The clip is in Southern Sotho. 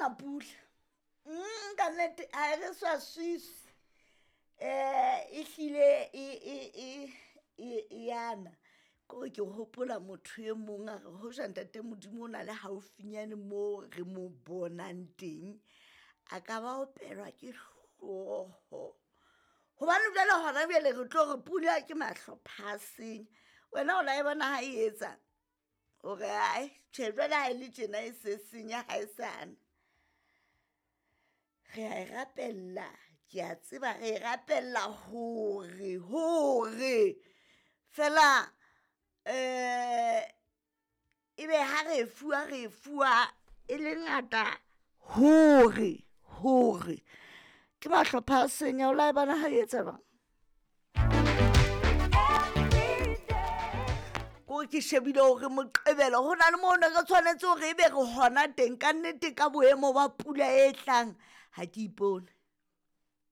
yana pula. Ka nnete ha e re swaswisi, e hlile e yana. Kore ke hopola motho e mong a re hoja ntate Modimo o na le haufinyane moo re mo bonang teng, a ka ba opelwa ke hlooho. Hobane jwale hona jwale re tlo re pula ke mahlo phaseng, wena o la e bona ha e etsa hore ae tjhe jwale ha e le tjena e se senya ha e sana. Re a e rapella, ke a tseba re e rapella hore hore feela ebe ha re e fuwa re e fuwa e le ngata hore hore ke mahlopha a senya o la e bona ha e etsa jwang. Kore ke shebile hore Moqebelo ho na le moo ne re tshwanetse hore ebe re hona teng kannete ka boemo ba pula e tlang ha ke ipone.